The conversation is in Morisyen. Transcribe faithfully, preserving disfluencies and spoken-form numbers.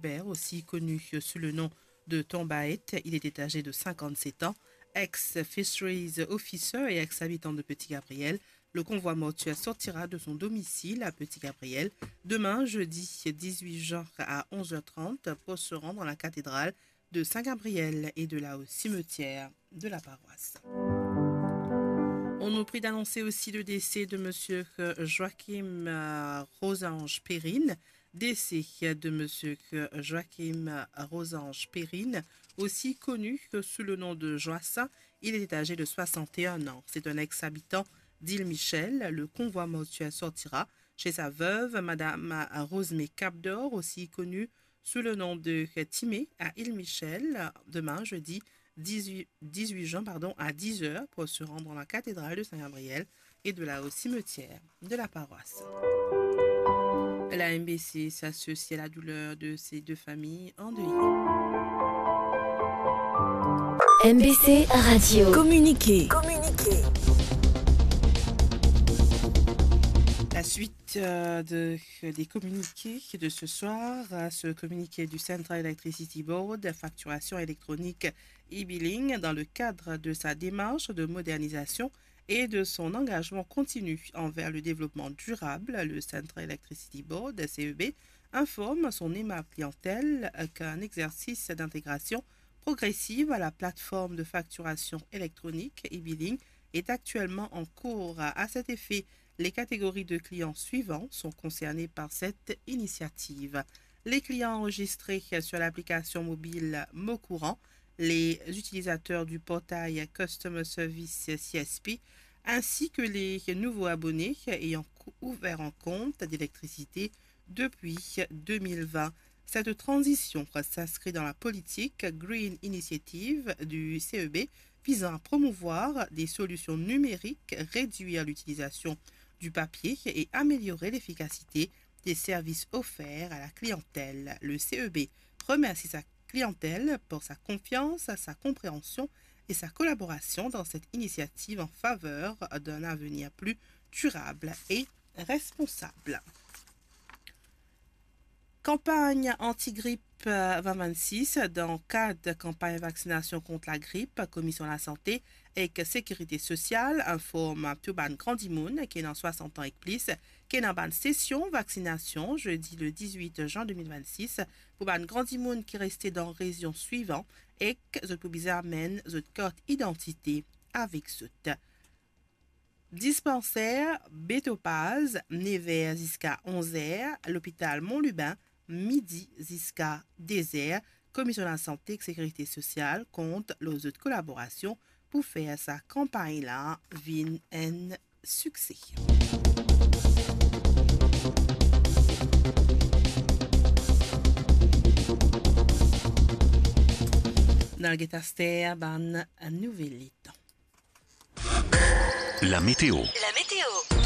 Hubert, aussi connu sous le nom de Ton Baet. Il était âgé de cinquante-sept ans, ex-fisheries officer et ex-habitant de Petit Gabriel. Le convoi mortuaire sortira de son domicile à Petit Gabriel demain, jeudi dix-huit juin, à onze heures trente, pour se rendre à la cathédrale de Saint-Gabriel et de là au cimetière de la paroisse. On nous prie d'annoncer aussi le décès de monsieur, euh, Joachim, euh, Rosange Perrine. Décès de monsieur, euh, Joachim, euh, Rosange Perrine, aussi connu que sous le nom de Joassin. Il était âgé de soixante et un ans. C'est un ex-habitant d'Île Michel. Le convoi mortuaire sortira chez sa veuve, madame Rosemée Capdor, aussi connue sous le nom de Timé, à Île Michel, demain, jeudi dix-huit, dix-huit juin, pardon, à dix heures, pour se rendre dans la cathédrale de Saint-Gabriel et de là au cimetière de la paroisse. La M B C s'associe à la douleur de ces deux familles endeuillées. M B C Radio. Communiqué. La suite, euh, de, des communiqués de ce soir, euh, ce communiqué du Central Electricity Board, facturation électronique e-billing, dans le cadre de sa démarche de modernisation et de son engagement continu envers le développement durable, le Central Electricity Board, C E B, informe son aimable clientèle qu'un exercice d'intégration progressive à la plateforme de facturation électronique e-billing est actuellement en cours. À cet effet, les catégories de clients suivantes sont concernées par cette initiative. Les clients enregistrés sur l'application mobile Mon Courant, les utilisateurs du portail Customer Service C S P, ainsi que les nouveaux abonnés ayant cou-, ouvert un compte d'électricité depuis deux mille vingt. Cette transition s'inscrit dans la politique Green Initiative du C E B visant à promouvoir des solutions numériques, réduire l'utilisation du papier et améliorer l'efficacité des services offerts à la clientèle. Le C E B remercie sa clientèle pour sa confiance, sa compréhension et sa collaboration dans cette initiative en faveur d'un avenir plus durable et responsable. Campagne anti-grippe, euh, vingt vingt-six, dan kad kanpagn vaksinasyon kont lagrip, Komisyon Lasante ek Sekirite Sosyal inform tou bann gran dimoun ki ena swasant an ek plis, ki ena bann sesyon vaksinasyon zedi le dizwit zin de mil vennsis pou bann gran dimoun ki reste dan rezion swivan ek zot pou bizin amenn zot kart idantite avek zot. Dispanser Beto Paz, nev er ziska onz er, lopital Mont Lubin, midi ziska de er. Komisyon Lasante ek Sekirite Sosyal kont lor zot kolaborasion pou fer sa kanpagn la vinn enn sikse. Nou al get aster bann nouvel letan. La météo. La météo.